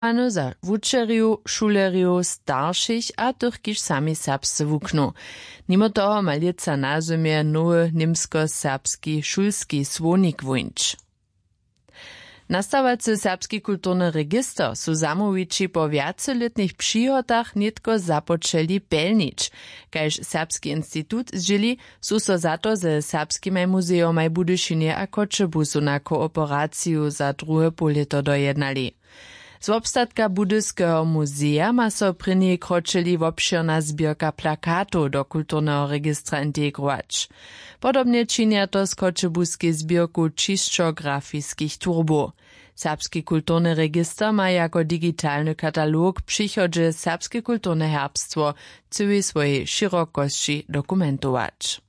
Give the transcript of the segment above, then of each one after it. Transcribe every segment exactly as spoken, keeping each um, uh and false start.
Za wučerjow, šulerjow, staršich a tych kiž sami serbsce wuknu. Nimo toho ma lětsa na zymje nowy němskoserbski šulski słownik wóńć. Nastawacy serbski kulturny register su zamołwići po wjacelětnych přihotach nětko započeli pelnić. Kaž serbski institut zdźěli, su so za to ze serbskimaj muzejomaj w budyšinje a choćebuzu na kooperaciju za druhe połlěto dojednali. Z wobstatka budyskeho muzeja ma so prěni kročeli wobšěrna zběrka plakatow do kulturneho registra integrować. Podobnje činja to z choćebuskej zběrku ćisćografiskich turbow. Serbski kulturny register ma jako digitalny katalog w přichodźe serbske kulturne herbstwo w cyłej swojej šěrokosći dokumentować.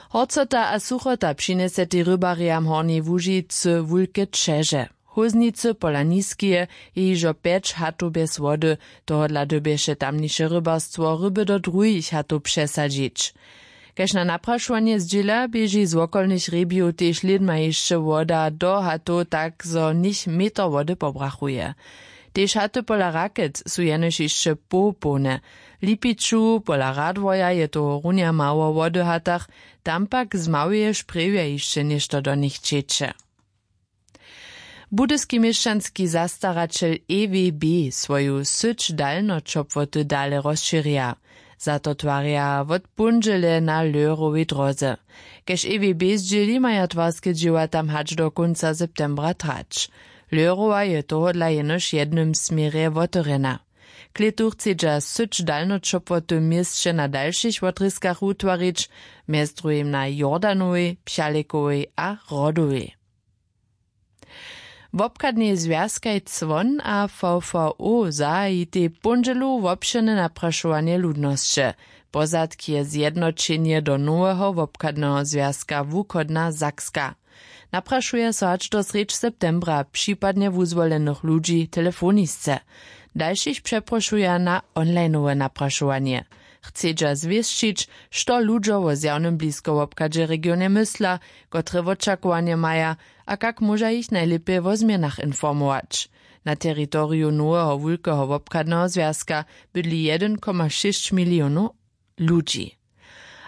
Horcota a suchota přinjesetej rybarjam w Hornjej Łužicy wulke ćeže. Hóznicy pola Niskeje je hižo pjeć hatow bjez wody. Tohodla dyrbješe tamniše rybarstwo ryby do druhich hatow přesadźić. Kaž na naprašowanje zdźěla, běži z wokolnych hrjebijow tež lědma hišće woda do hatow, tak zo něch meter wody pobrachuje. Tež haty pola Rakec su jenož hišće połpołne. W Lipiću pola Radworja je tohorunja mało wody w hatach, tam pak z maweje šprjewja hišće něšto do nich ćeče. Budyski měšćanski zastaraćel E W B swoju syć dalnoćopłoty dale rozšěrja. Za to twarja wot póndźele na Lehrowej dróze. Kaž E W B zdźěli, maja twarske dźěła tam hač do kónca septembra trać. Lehrowa je tohodla jenož w jednym směrje wotewrjena. Klětu chcedźa syć dalnoćopłoty w měsće na dalšich wotrězkach wutwarić, mjez druhim na Jordanowej, Pjalikowej a Rodowej. Wobchadnej zwjazkaj Cwon a V V O zahajitej póndźelu wobšěrne naprašowanje ludnosće. Pozadk je zjednoćenje do noweho wobchadneho zwjazka Wuchodna Sakska. Naprašuja so hač do srjedź septembra připadnje wuzwolenych ludźi telefonisce. Dalšich přeprošuja na onlineowe naprašowanje. Chcedźa zwěsćić, što ludźo wo zjawnym bliskowobchadźe w regionje mysla, kotre wočakowanje maja a kak móža jich najlěpje wo změnach informować. Na teritoriju noweho wulkeho wobchadneho zwjazka bydli jedyn koma šěsć milionow ludźi.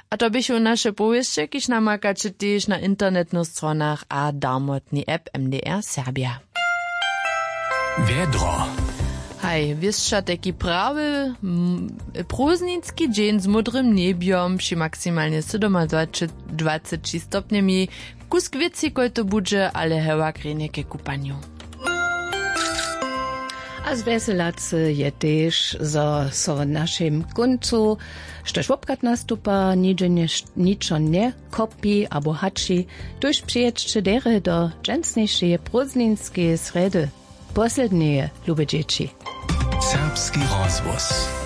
A to běchu naše powěsće, kiž namakaće tež na internetnych stronach a darmotnej app M D R Serbja. Wjedro. Haj, wěsća tajki prawy, m, prózdninski dźeń z módrym njebjom při maksimalnje sydomadwaceći stopnjemi. Kusk wětři kojto budźe, ale hewak rjenje ke kupanju. A zwjeselacy je tež, zo so w našim kóncu štož wobchad nastupa, ničo njekopi abo hači. Tuž přijědźće derje do dźensnišeje prózdninskeje srjedy, poslednjeje, lube dźěći. Serbski rozhłos.